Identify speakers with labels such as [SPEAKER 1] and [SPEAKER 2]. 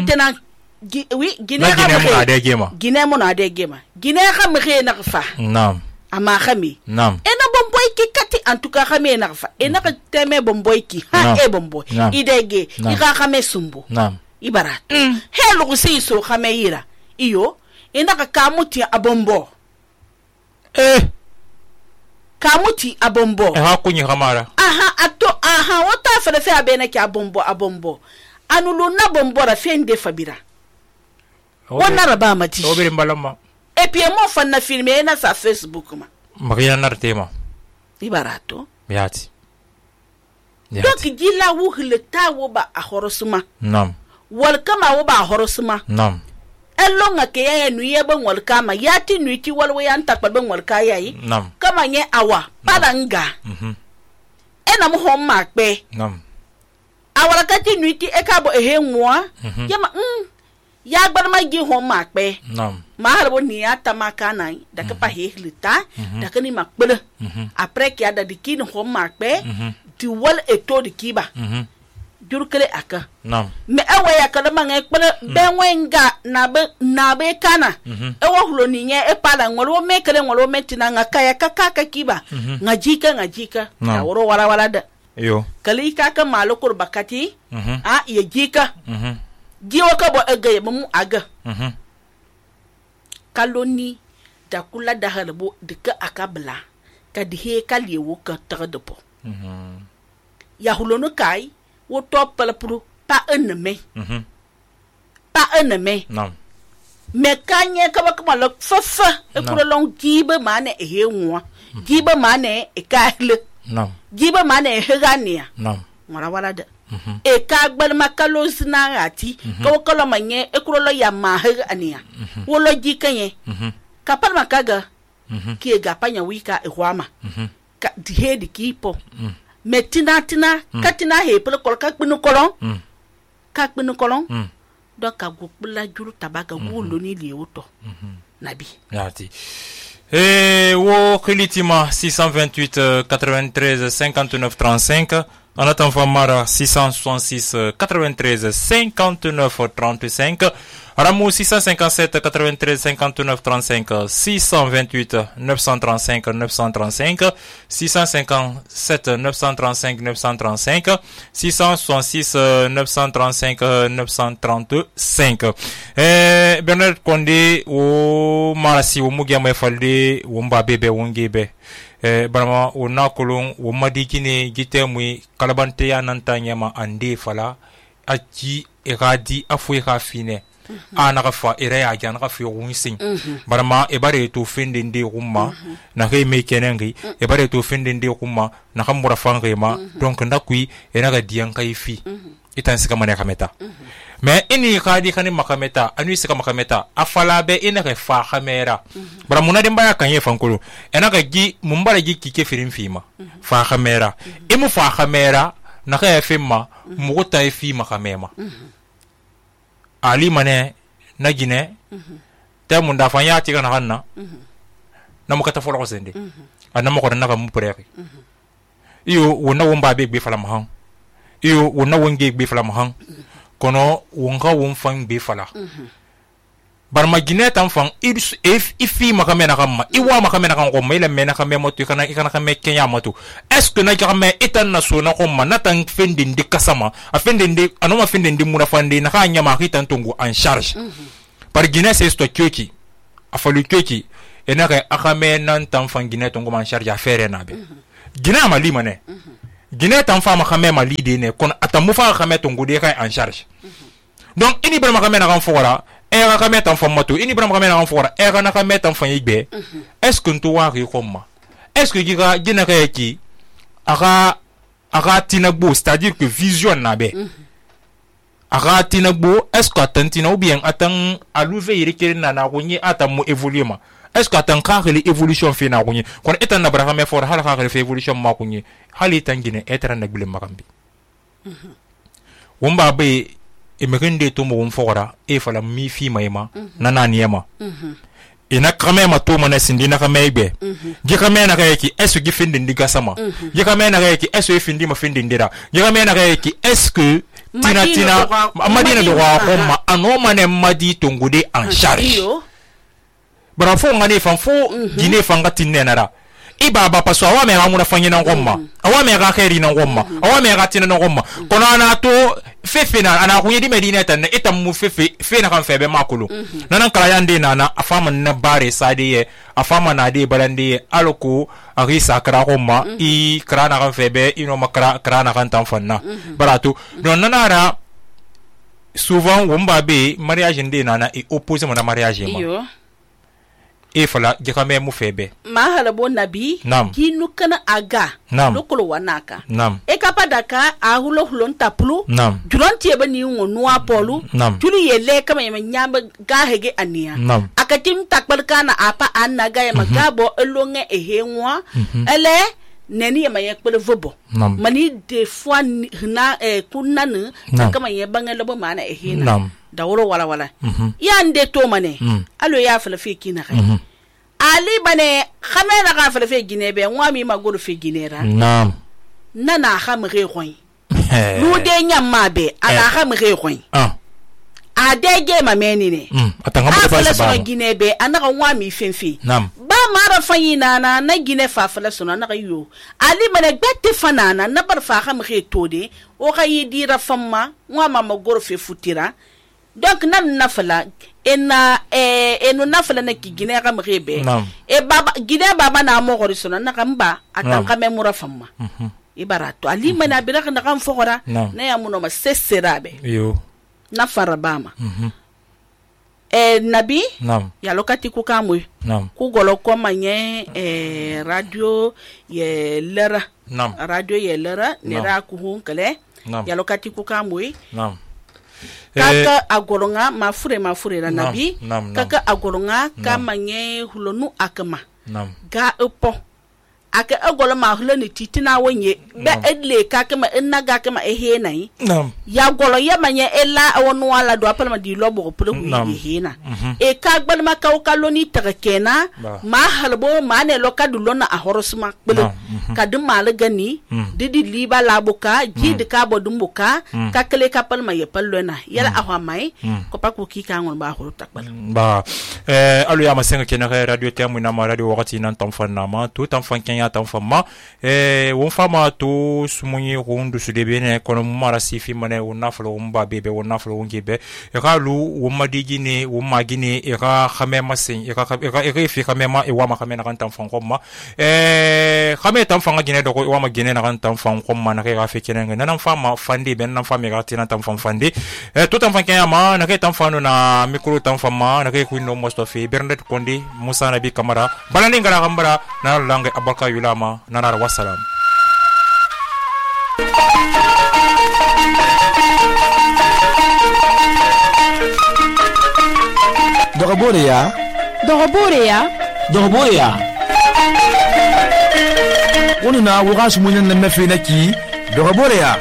[SPEAKER 1] Maintenant Guinée mon ade gema Guinée ka mxe na fa
[SPEAKER 2] naam
[SPEAKER 1] ama khami
[SPEAKER 2] naam
[SPEAKER 1] ena bomboy ki kati en tout cas khami na fa ena ka teme bomboy ki ha e bomboy idege ika khame sumbu
[SPEAKER 2] naam
[SPEAKER 1] ibarat helu kusi so khame yira iyo ena ka kamuti abombo kamuti abombo
[SPEAKER 2] ha kunyi khamara
[SPEAKER 1] aha wata fere fe abena ki abombo anulu na bombo ra fende fabira wana raba mati
[SPEAKER 2] obere mbalama
[SPEAKER 1] et puis mo fan na filmer na sa Facebook ma
[SPEAKER 2] magina nartema
[SPEAKER 1] ibarato
[SPEAKER 2] yati
[SPEAKER 1] donc gila wu hilta wo ba a horosuma
[SPEAKER 2] nam
[SPEAKER 1] wal kama wo ba horosuma
[SPEAKER 2] nam
[SPEAKER 1] elonga ke ya nuye ban wal kama yati nuiti wal we yan takpa ban wal kaya yi
[SPEAKER 2] nam
[SPEAKER 1] kama nye awa padanga ena mo hom makpe
[SPEAKER 2] nam
[SPEAKER 1] awara kati nuiti e ka bo ehe nwa yama ya gbar ma gi hom makpe
[SPEAKER 2] nam
[SPEAKER 1] ma harbo ni ata makana da ka pa hehlita da ka ni makpele après ki ada dikin hom makpe ti wal eto dikiba jurkele aka
[SPEAKER 2] nam
[SPEAKER 1] me ewe ya kada manga ekpele benwenga na be kana ewo hulo ni nye e pala ngolo me kele ngolo metina ngaka ya kaka kiba ngajika na woro wala da
[SPEAKER 2] yo
[SPEAKER 1] kali kaka malokor bakati ye jika jiwa ka bo ega mu aga kaloni da kula da halbo dika akabla ka dihe kaliewo ka tagadopo ya hulono kai wo topala puru pa eneme
[SPEAKER 2] nam
[SPEAKER 1] me kanye ka ba kuma lo fafa e kuro long jibe mane e henwa jibe mane e kahle
[SPEAKER 2] nam
[SPEAKER 1] jibe mane e hegania
[SPEAKER 2] nam
[SPEAKER 1] wala da e ka gbal makalo sinarati ko kolo manye e kuro lo ya ma hegania wo lo jikanye ka par makaga ki ga panya wika e hwama ka dihe di kipo metina katina he pele kol ka kpinu kolon donc ka gukula juru tabaga wulo ni liwoto nabi
[SPEAKER 2] yati wo khilitima 628 93 59 35 en attendant Mara 666 93 59 35 Ramou 657 93 59 35 628 935 935 657 935 935 666 935 935 Bernard Condé o marasi o mugiama falde o mbabebe wongebe barama o nakolon o madikine gitemui kalabante ya nantanyama ande fala aji eradi afwe khafine ana gafa ere ya gyan gafa yunsin barama e bare to findinde rumma na he me kenengi e bare to findinde rumma na kamura fangema donc ndakui ena ga diyan kaifi itan sika mane kameta mais ini khadi khani makameta anu sika makameta afala be ina ga fa khamera baramuna dimba ya kanye fankulu ena ga gi mumbara gi kike firin fima fa khamera imu fa khamera na ga fima muguta fi makamema ali mane na gine ta mun da fanya ti kana hanna na mukata folo ko sende anna mo ko na ka mu preki iyo wona womba be be fala mahan iyo wona wonge be fala mahan kono wonga won fan be fala bar ma gine tan fan ifi makamena kamma iwa makamena kan ko mele mena kamé motu kana kamé kenya motu est-ce que na kamé etan na so na ko man tan fendindi kasama a fendindi anoma fendindi muna fandi na ka nyama hitan tungu en charge par gine c'est sto kyoki a falu kyoki ena ka akamé nan tan fan gine tungu en charge a faire na be gine ma limane gine tan fa makamé ma lide ne kon atamu fa kamé tungu de ka en charge donc ini bar makamé na kan fora era ka metan fo moto ini bram ka mena en fora era na ka metan fo yigbe est-ce que nto wa ri komma est-ce que giga gina ka yaki aga tinagbo c'est-à-dire que vision na be aga tinagbo est-ce que atantina ou bien atan aluve yirikere na kunyi atamu évoluer est-ce que atan ka rele évolution fi na kunyi kon etan na bra ka me fora hala ka rele évolution ma kunyi hali tangine etra na gbile makambi womba be emerende to mo fora e fala mi fi mayma nana niema ina kame ma to mana sindi na kame be je kame na kay ki est-ce que findi ndiga sama je kame na kay ki est-ce que findi ma findi ndira je kame na kay ki est-ce que tina madina do wa ma ano mane madi tongude en charge bara fo ngani fan fo dine fanga tinne nara ibaba paso awa me ga muna fanyina ngomma awa me ga khairi na ngomma awa me ga tina na ngomma kono ana to fefe na ana kunye di medina tan itam mu fefe fe na kan febe makulu nanan kala yande na afama na bare sade ye afama na de balande aloko arisa kra ngomma I kra na kan febe ino makra kra na kan tan fanna baratu don nanara souvent wumba be mariage ndé nana e opposé mon mariage ma e fala jekame mu febe
[SPEAKER 1] mahala bo nabi kinu kana aga lokolo wanaka e kapadaka a hulo hulon tapulu juronti ebe ni ngonu apolu tuli yele kama yema nyamba gahege ania akatim takbalkana apa annaga yema gabo elonge ehenwa ele neni yema yekpele vobo mani de fois na kunanu kama yebanga lobo mana ehena dawro wala wala yande to mane alo ya fala fi kina kai ali bane khamena ga fala fi gine be ngwami magoro fi ginera nana khamre khoy lu de nyamma be ana khamre khoy adege mameni ne atanga mo ba sa gine be ana ngwami fenfi ba mara fayina na gine fa fala sona na yo ali bane gbette fanana na bar fa khamre tode o ga yidira famma ngwama magoro fi futira donc nan nafala enu nafala na ki gine ga mrebe baba gine baba na mo gorisona na kamba atanka memura famma ibarato ali mana biraka na kan fogora na ya muno ma seserabe yo na farabama nabi ya lokati ku kamwe ku golo ko manye radio ye lera radio ye lera ne ra ku hunkale ya lokati ku kamwe kaka agoronga mafure la nabi kaka agoronga kamanye hulonu akama ga upo aka agolo ma huloni titina wonye be edle kaka ma ennaga kama ehenai ya golo ya manye ela awonu wala do apala ma di lobo pulu ehena e ka gbal ma ka kaloni takena ma halbo ma ne lokadu lona a horosuma pulu kadum mal gani didi liba labuka jid ka bodumbuka kakale kapal ma yepalona yala ahwa mai ko pa ku ki ka ngon ba horo takbal
[SPEAKER 2] ba alu ya masenga kena radio temu na ma radio wakati nan tamfana ma tout enfant kenya tamfama won fama to sumunyi hundu sudebene kono mara sifi mane wona flo umba bebe wona flo ngebe e ka lu woma digine woma gine e ka khamema sen e ka fi khamema e wama khamena kan tamfan komma khame tamfan gine do ko wama gine na kan tamfan komma na ka fi kenenga nan fama fandi ben nan fami ga tina tamfan fandi tout tamfan kenya ma na ka tamfan na micro tamfan ma na ka ku no mostofi bernet kondi musa nabi kamara balani ngara kambara na langue abarka yulama nanar wassalam
[SPEAKER 3] Dogoboreya wonu na waga sumunya na mafina ki Dogoboreya